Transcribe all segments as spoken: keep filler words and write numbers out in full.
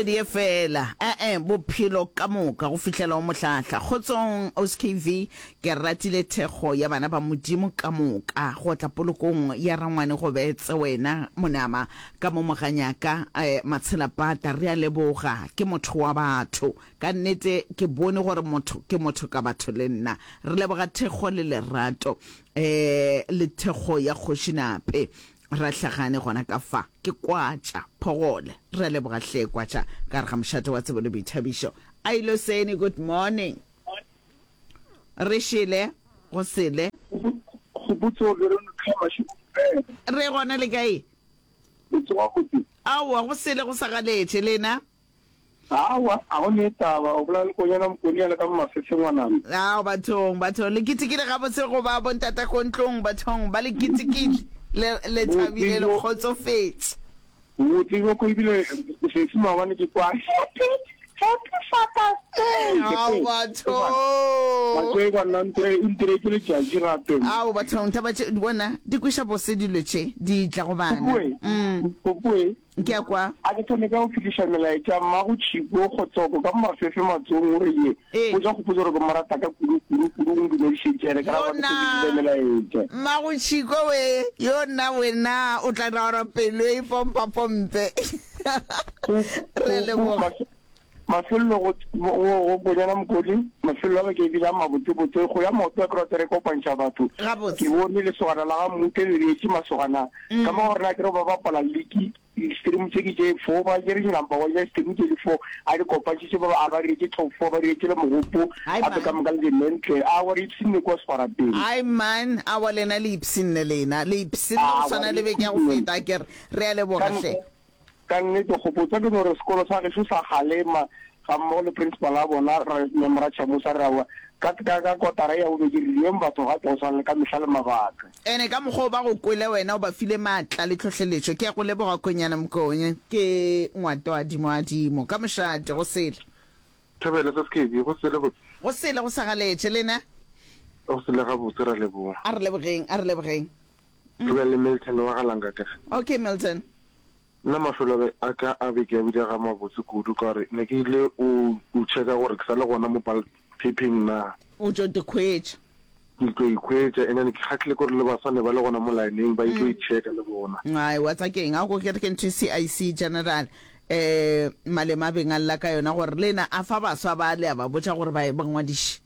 kgwedi ye fela, e-e, bophelo ka moka go fihlela o mohlahla. Kgotsong O S K V, ke ratile thekgo ya bana ba Modimo ka moka go tla polokong ya rangwane Gobetse wena Monama ka mo Moganyaka eh, Matshelapata re a leboga ke motho wa batho ka nnete ke bone gore motho ke motho ka batho le nna re leboga thekgo le lerato eh le thekgo ya Kgoši Nape Rahlagane gona ka fa ke Kwatša Phogole re a leboga hle Kwatša ka re ga mošate wa tsebo le boithabišo Ailo Seni good morning re šele go sele. Kgopotso Veronica Mashego Re gona le kae? Le tsoga gotse? Aowa go sele go sa galetše lena. Aowa a go ne taba o bolela le Konyana Mokoni a le ka mo Mafefe ngwanana. Ao bathong bathong le ketekile gabotse go ba bontata ko ntlong bathong ba le ketekile le le thabile le kgotsofetše. Botse bjo ko ebile sesi maobane ke kwa happy happy Father's Day. Ao bathong. Batho e kwa nna ntire o ntiretše letšatši gape. Ao bathong taba tše bona di kweša bose dilo tše di tla go bana. Kokoe Mm. kokoe Ke a kwa. A ke thome ka go fihliša melaetša mmago Tšhiko Kgotsoko ka mo Mafefe Matsong o re ye Ee. botša Kgopotso gore ke mo rata ka kudu kudu kudu o ntumedišetše ene ke ra Yo gore ke nna fihlišitše melaetša. Mmago Tšhiko we yo nna wena o tla dira gore pelo e pompa pompe. Go Re go go leboga. mafe mafelelo go go go Konyana Mokodi mafelelo a beke ebile a mabotsebotse go ya maoto a ke rata re kopantšha batho ke Gabotse. bone lesogana la ga Mmutle le beetše masogana ka mo gore na ke re ba bapala league di-stream tše ke tše four ba tšere number one ya stream tše di four a di kopantšhitše ba a ba diretše top four ba diretše le mogopo Ai gape ka man. moka le di-mentle a wa re ipshinne kua Sekgwarapeng. Ai man, aowa lena le ipshinne lena. Le ipshinne go A wa swana re le beke ya go ipshinne. feta akere. Re a leboga Ka hle. Ka nnete kgopotsa ke no re sekolo sa gešo sa kgalema ga mmogo le principal ya bona re Mem Ratšhamosa re aowa ka ka ka kotara ya bobedi re dieng batho gape go swana le ka mehla le mabaka. Ene ka mokgwa o ba go kwele wena o ba file maatla le tlhohleletšo. Ke a go leboga Konyana Mkonye. Ke Ngwatoadimoadimo ka mošate go sele. Thobela sa Skebi, go sele botse. Go sele go sa galetše lena. Go sele gabotse ra leboga. A re lebogeng, a re lebogeng. Re be le Milton wa ga Langaka. Okay Milton. Nna mafelo a ka a beke a bile ga mabotse kudu ka gore ne ke ile o o checka gore ke sa le gona mo ballot paping na. O tšo ikhwetša. Ke tlo ikhwetša and then ke kgahlile ke gore le baswa ne ba le gona mo lineng ba itlo ichecka le bona. Ai wa tsa keng a ko ke re ke ntho e C I C General eh Malema a beng a lla ka yona gore lena a fa baswa ba le a ba botša gore ba ba ngwadiše.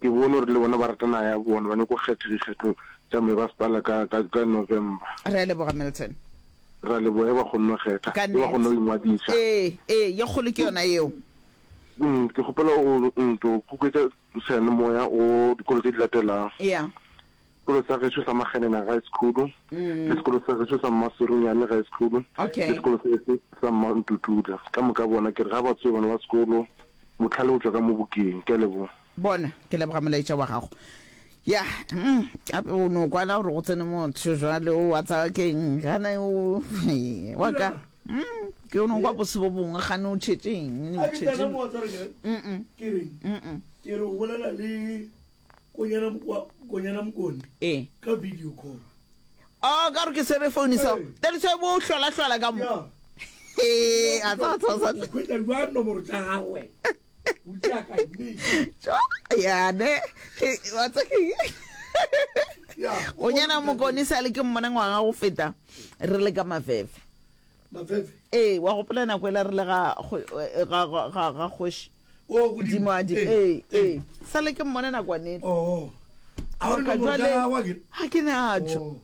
Ke bone gore le bona ba rata naga ya bona, ba nyako kgetha dikgetho tša mebasepala ka, ka, ka November. Re a leboga Milton. Re a leboga ge ba kgonne go kgetha, Ka ge ba kgonne go nnete. ingwadiša. Ee, ee, ye kgolo ke yona yeo. Mm, ke kgopela o nto kuketša seyalemoya go dikolo tše di latelago. Yeah. Sekolo sa gešo sa Makgenena High School, le sekolo sa gešo sa Mmaserunyane High School, le Okay. sekolo se se sa Mmantutula. Ka moka bona ke re ga ba tsoe bana ba sekolo, bohlale bo tšwa ka mo bukeng. Ke a leboga. Bona, ke leboga molaetša wa gago. Ya, mm, gape o no kwala gore go tsene motho jwale o wa tsaya keng gana o wa ka. Mm, ke o no kwa bose bo bongwe gane o tšhetšeng, o A ke tsena tšhetšeng. mo wa tsware ke Mm. ke reng Mm. ke re o bolela le Konyana Mokwa- Konyana Mokone Ee. ka video call. Oh, ka gore ke swere phone so. Ee. That is why bo hlola hlola ka mo. Ya. Ee, a tsa tsa tsa. O hwetša jwang nomoro tša gagwe? O tšea ka nnete. Tjo, ya ne. Ke wa tsa ke. Ya. Konyana Mokone sa le ke mmona ngwaga go feta re le ka Mafefe. Mafefe. Ee, wa gopola nako ela re le ga kgo- eh, ga ga ga ga kgoši. O godimo. Godimo a di. Ee, Ee, ee. ee. Sa le ke mmona nakwane. Oh. A o Ka nomoro tša jwale gagwe akere? ga ke natšo. Oh.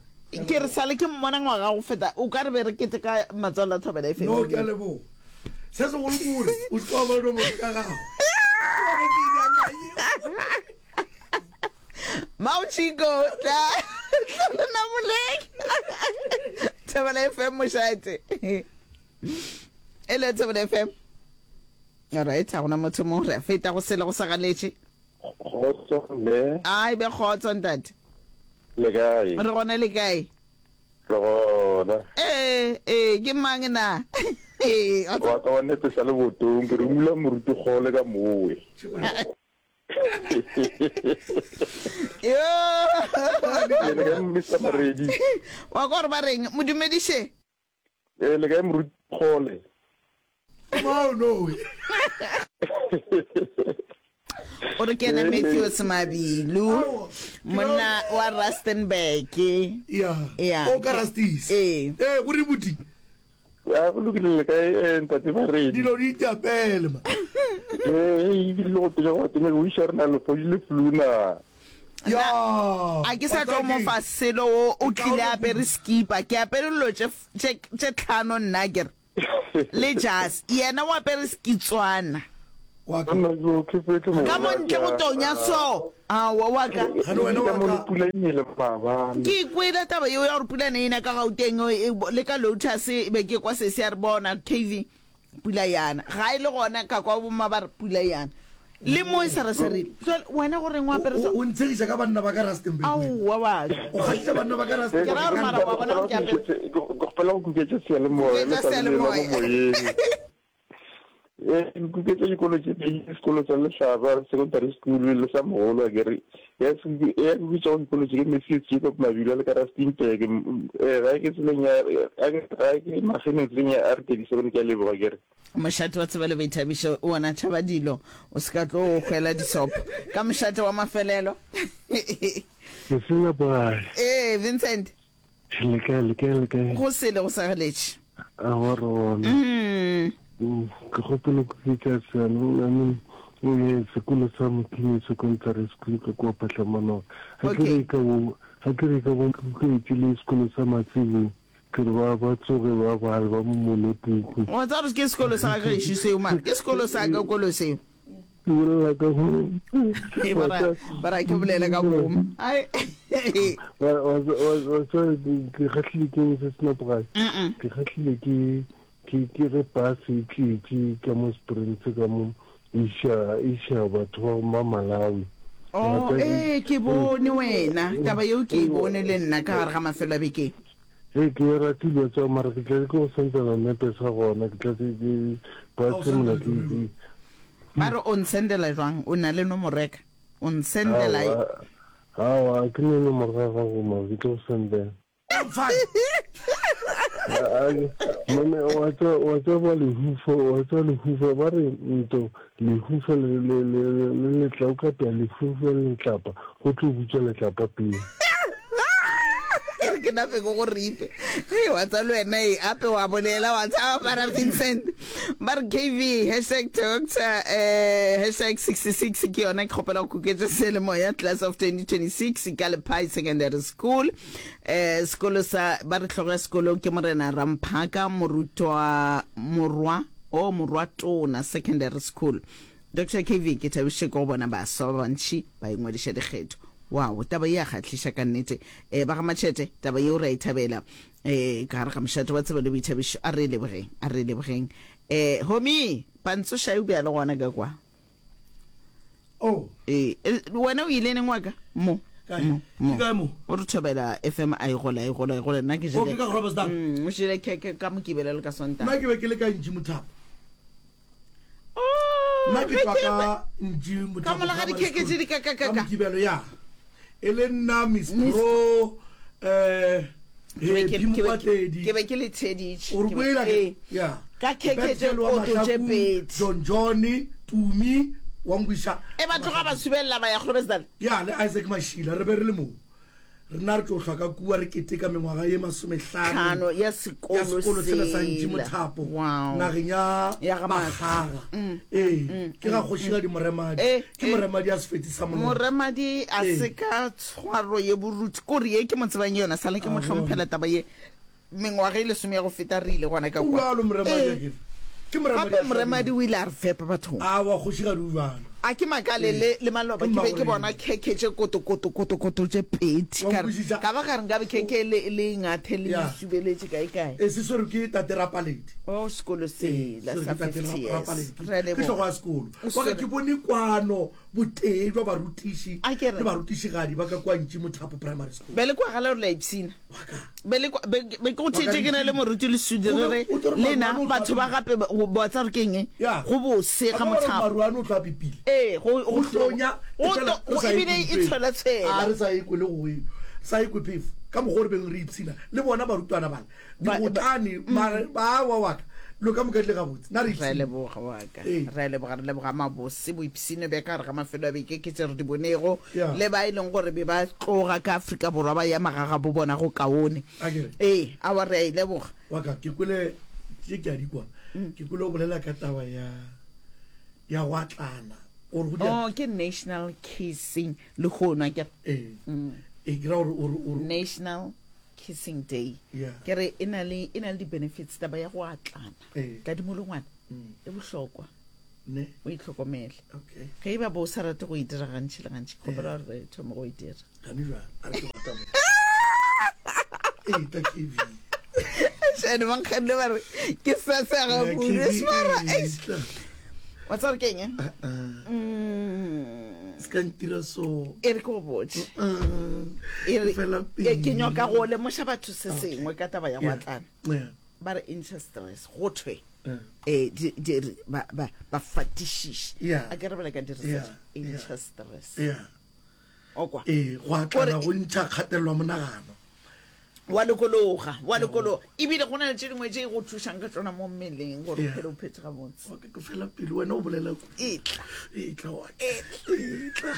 Ke re sa le ke mmona ngwaga go feta o ka re be re kete ka matswalo a Thobela F M. No, ke a leboga. Se segolo ke gore o se wa ba le nomoro tša gagwe. Mauchiko tla tla le namoleng. Thobela F M mošate. Ele Thobela F M. Alright, ga gona motho mo re a feta go sele go sa galetše. Kgotso mme. Ai be kgotso ntate. Le kae? Re gona le kae? Re gona. Ee, ee, ke mang na? Ee, wa Wa ka wa nepesa le botong, ke romula moruti kgole ka mowe. Yo. Le kae Mister Maredi? Wa kwa gore ba reng? Modumediše. Ee, le kae moruti kgole? Mao no. O re ke ena Matthews Mabilu, monna wa Rustenburg. Ya. Ya. O ka Rusties. Ee. Eh, go re buti. A go lokile le kae eh, ntate Baredi? Dilo di itapele ma. Eh, ebile le go pele go tene go iša rena le fodile flu na. Ya. A ke sa tlo mo fa selo o o tlile a apere skipa. Ke apere dilo tše tše tše tlhano nna ke re. Le jazz. Yena o apere skitswana. Wa ka. Nna ke ke fetse mo. Ka mo ntle go tonya so. Aowa wa ka. Gane wena Ka wa mo le ka. pula e nele maabane. Ke ikwele taba yeo ya gore pula ne e na ka Gauteng e, e, le ka Lotus e be ke kwa sesi a re bona K V pula yana. Ga e le gona ka kwa bomma ba re pula yana. Le mo e sa re serile. Jwale wena go reng o apere so? O o ntshegiša ka banna ba ka Rustenburg. Aowa wa ka. O kgahlisa banna ba ka Rustenburg. Ke ra gore mara wa bona gore ke apere. Ke kgopela go kuketša seyalemoya le Kuketša sa le mo seyalemoya. moyeng. Eh, ke kuketša dikolo tše pedi, sekolo sa Lehlaba Secondary School le sa Mogolo akere. Ya se- ya kuketša go dikolo tše ke Matthews Jacob Mabilu a le ka Rustenburg. M- Eh, ga ke tseleng ya ga ke ga ke mageneng tseleng ya R thirty-seven ke a leboga akere. Mošate wa tsebo le boithabišo o ona tšhaba dilo o se ka tlo hwela disopo ka mošate wa mafelelo. Ke sena boy. Ee Vincent. Le kae, le kae, le kae? Go sele go sageletše. A wa re gona. Mm. Mm, Ke kgopela go kuketša seyalemoya, I mean, eh, sekolo sa Mokini Secondary School ka kua Phahlamanong. Ga ke Okay. re ka bo, ga ke re ka bo kuketše le sekolo sa Matsebong. Ke re ba ba tsoge ba bale ba momole puku. Wa tseba gore ke sekolo sa gešo seo mara ke sekolo sa ka kolo seo. Ke bolela ka go Ee, ba ra ba ra ke bolele ka boma. Ai. Wa wa wa wa tseba ke kgahlile ke eng se senapogae? Mm-mm. Ke kgahlile ke ke ke ge bus e tletše ka mo Springs ka mo iša iša batho ba ma Malawi. Oh, ee ke bone wena. Taba yeo ke e bone le nna ka gare ga mafelo a beke. Ee, ke e ratile tsa mara ke tla ke go sendela nepe sa gona ke tla ke ke bus mola ke ke Ba re o nsendela jwang? O na le nomoro ya ka? O nsendela Aowa, aowa, ke ne nomoro ya gago mara ke tlo go sendela. Mone wa tsa wa tseba lehufa wa tsa lehufa ba re nto lehufa le le le le letla o ka pea lehufa le letlapa go tlo butša letlapa pele. Ke re ke nape ke go ripe. Hei wa tsa le wena e ape wa bolela wa tshaba bara Vincent. Ba re K V hashtag doctor eh hashtag sixty-six ke yona ke kgopela go kuketša seyalemoya class of twenty twenty-six ka Lephai Secondary School. Eh sekolo sa ba re hlogo ya sekolo ke Morena Ramphaka morutwa morwa o morwa tona secondary school. Doctor K V ke thabišitše ke go bona baswa ba bantši ba ingwadiša dikgetho. Wow, taba ye ya kgahliša ka nnete. Eh ba ga Machete taba yeo re a e thabela. Eh ka gare ga mošate wa tsebo le boithabišo a re lebogeng, a re lebogeng. Eh homie, pantso šai o bea le gona ka kwa. Oh. Eh wena o ile neng wa ka? Mo. Kae? Mo, mo. Ke kae mo? O re thobela F M a e gola, e gola, e gola. Nna ke Oh, jele. ke ka Groblersdal. Mm, o jele khekhe ka Mokibelo le ka Sontaga. Nna ke be ke le ka Ntši Mothapo. Oh, Nna ke ge tšwa ke ka be- Ntši Mothapo Ka mola ga Primary dikhekhe tše School. di ka, ka, ka, Ka ka. Mokibelo, ya. E le nna Miss Pro, eh, Ke be ke- Happy ke be- Mokwatledi. ke be ke le theditše. O re Ke be- kwela ke- ee. ya. Ka khekhe tše Bethel wa koto tše Mahlaku, pedi. John Johnny, Tumi, wa Ngwisha. E ba tloga ba subelela ba ya Groblersdal. Ya, le Isaac Mashila, re be re le moo. Rena re tlo hlwa ka kua re keteka mengwaga ye masomehlano Tlhano ya ya sekolo sekolo sela sa Ntši sela. Mothapo, Wow. nageng ya Ya ga Bakgaga. Mm, Ee, mm, ke ga mm, kgošigadi Moremadi. Eh, Ke eh. Moremadi a sefeti sa monwana. Moremadi a Ee. se ka tshwaro ye boruti. Kore ye ke mo tsebang yona, sale ke mo A bona. hlomphela taba ye. Mengwaga e lesome ya go feta re ile gona ka O kwa. bjalo Moremadi Ee. akere. Ke Moremadi Gape a Moremadi hlabile. o ile a re fepa bathong. A wa kgošigadi o bjalo. A ke makale le, le maloba Ke ke be ke mmagorena. bona khekhe tše koto koto koto koto tše pedi. Wa Ka re, nkwešiša? ka ba ka re nkabe khekhe le, le ngathe le Ya. subeletše kae kae. E se swerwe ke tate Rapaledi. Oh, sekolo sela Swerwe sa ke tate fifty Ra- years. Rapaledi. Re a Ke leboga. hlogo ya sekolo. O Wa ka swere. ke bone kwano botee jwa barutiši A ke re. le barutišigadi ba ka kwa Ntši Mothapo Primary School. Be le kwagala gore la ipshina. Wa ka. Be le kwa- be- be ke go theetše ke na le moruti le Sudi O re be- re, o tlo re le na Maruane o tla batho ba gape ba- go botsa gore ke eng? Ya. Go bose ga A ba re Mothapo. Maruane o tla pipile. Ee, go- Go go hlonya, go e fela to- re sa ebile e e kwe tshwelatshwela. A re sa e kwe le go e, sa e kwe phefo. Ka mokgwa o re beng re ipshina le bona barutwana bana. Ba- Digotlane, mare ba wa wa ka. Dilo ka moka di le gabotse. Na re Re a ipshine. leboga wa ka. Ee. Re a leboga, re leboga mabose, boipshino bja ka gare ga mafelo a beke ke tše re di bonego, Yeah. le ba e leng gore be ba tloga ka Afrika Borwa ba ya magagabo bona go kaone. A ke re. Ee, aowa re a e leboga. Wa ka, ke kwele tše ke a di kwa. Ke kwele o bolela ka taba ya ya go atlana. Gore go dia. Oh, ke National Kissing lehono, a ke re. Ee. Ee, ke ra gore o re o re. National Kissing Day. Yeah. Ke re e na le e na le di-benefits taba ya go atlana. Ee. Ka dimolongwana e bohlokwa. Ne. O itlhokomele. Okay. Ge e ba bo o sa rate go e dira gantši le gantši, ke kgopela gore re thome go e dira. Gane jwang? A re ke rata mo. Ee, ta K V. Shane ba nkganne ba re ke sa sega Yeah, kudu. K V, Smara, ee, eish. tla. Wa tseba gore ke eng, eh? Uh-uh. Mm. Se ka ntira so. E re ke go botše. Uh, E re, fela ke, ke pele. nyoka go lemoša batho se sengwe ka taba ya go Yeah. atlana. Yeah. Ba re intšha stress, go thwe. Yeah. Eh, di, di, re, ba, ba, ba fatišiše. Yeah. A ke re bale ka di research. Yeah. Yeah. Intšha stress. Yeah. O kwa? Ee, go atlana Gore- go ntšha kgatelelo ya monagano. Wa lokologa, wa lokologa. Ebile go na le tše dingwe tše e go thušang ka tšona mo mmeleng gore o Yeah. phele o phetse gabotse. Okay, ke fela pele wena o bolela kudu. Etla. Etla wa ka. Etla.